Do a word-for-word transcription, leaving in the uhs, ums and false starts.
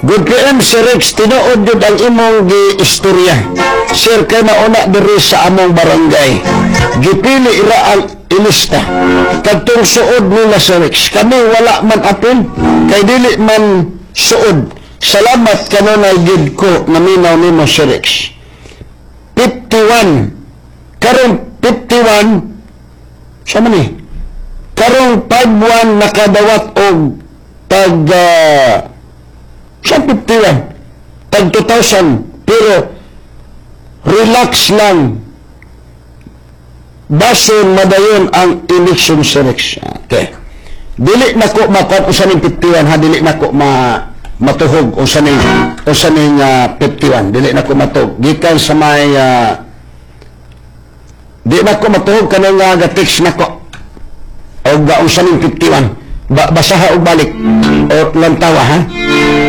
Good P M, Sir Rex, tinuod jud ang imong gi-istorya. Sir, kay mauna diri sa among barangay. Gipili ra ang ilista. Kadtong suod nila, Sir Rex. Kami wala man apil, kay dili man suod. Salamat kanunay gid ko naminaw nimo, Sir Rex. fifty-one. Karong fifty-one, sa man ni? Karong fifty-one nakadawat og tag uh, sa fifty-one, tag two thousand, pero relax lang, basin madayon ang election, Sir Rex. Okay, dili na ko makuha usa ning fifty-one ha, dili na ko ma matuhog usa ning usa ning ah, fifty-one, dili na ko matuhog gikan sa may ah, di na ko matuhog kanang uh, ga-text na ko og uh, unsa ning fifty-one. Ba basaha og balik o lantawa ha.